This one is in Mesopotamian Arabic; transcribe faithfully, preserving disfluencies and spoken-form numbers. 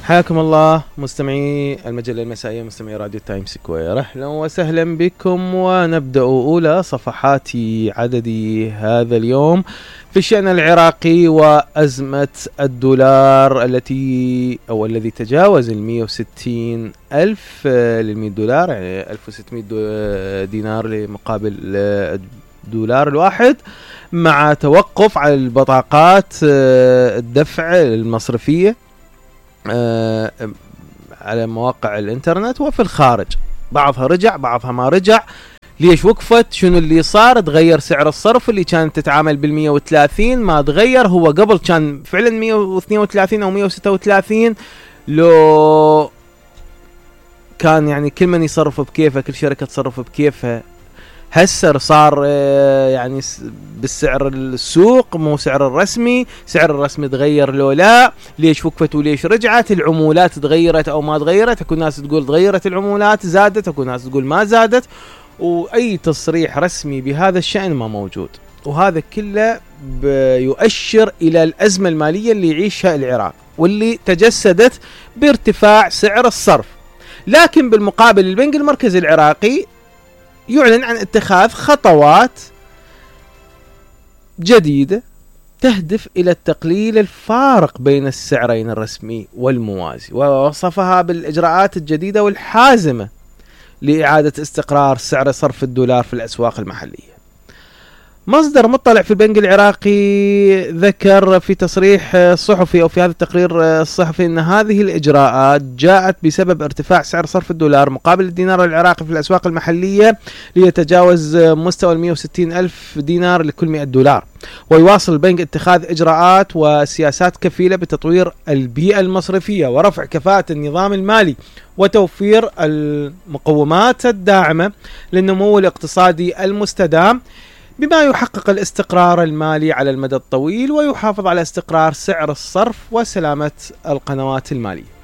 حياكم الله مستمعي المجلة المسائية، مستمعي راديو تايم سكوير، أهلا وسهلا بكم. ونبدأ أولى صفحات عدد هذا اليوم في الشأن العراقي وأزمة الدولار التي أو الذي تجاوز المئة وستين ألف للمئة دولار، يعني ألف وستمئة دينار مقابل الدولار الواحد، مع توقف على البطاقات الدفع المصرفية على مواقع الانترنت وفي الخارج. بعضها رجع بعضها ما رجع. ليش وقفت؟ شنو اللي صار؟ تغير سعر الصرف اللي كانت تتعامل بالمية وثلاثين ما تغير، هو قبل كان فعلا مية واثنين وثلاثين او مية وستة وثلاثين، لو كان يعني كل من يصرف بكيفه، كل شركة تصرف بكيفها. هسه صار يعني بالسعر السوق مو سعر الرسمي، سعر الرسمي تغير لو لا، ليش وقفت وليش رجعت، العمولات تغيرت او ما تغيرت، اكو ناس تقول تغيرت العمولات زادت، اكو ناس تقول ما زادت، واي تصريح رسمي بهذا الشأن ما موجود. وهذا كله يؤشر الى الازمة المالية اللي يعيشها العراق واللي تجسدت بارتفاع سعر الصرف. لكن بالمقابل البنك المركزي العراقي يعلن عن اتخاذ خطوات جديدة تهدف إلى التقليل الفارق بين السعرين الرسمي والموازي، ووصفها بالإجراءات الجديدة والحازمة لإعادة استقرار سعر صرف الدولار في الأسواق المحلية. مصدر مطلع في البنك العراقي ذكر في تصريح صحفي أو في هذا التقرير الصحفي أن هذه الإجراءات جاءت بسبب ارتفاع سعر صرف الدولار مقابل الدينار العراقي في الأسواق المحلية ليتجاوز مستوى المئة وستين ألف دينار لكل مئة دولار. ويواصل البنك اتخاذ إجراءات وسياسات كفيلة بتطوير البيئة المصرفية ورفع كفاءة النظام المالي وتوفير المقومات الداعمة للنمو الاقتصادي المستدام، بما يحقق الاستقرار المالي على المدى الطويل ويحافظ على استقرار سعر الصرف وسلامة القنوات المالية.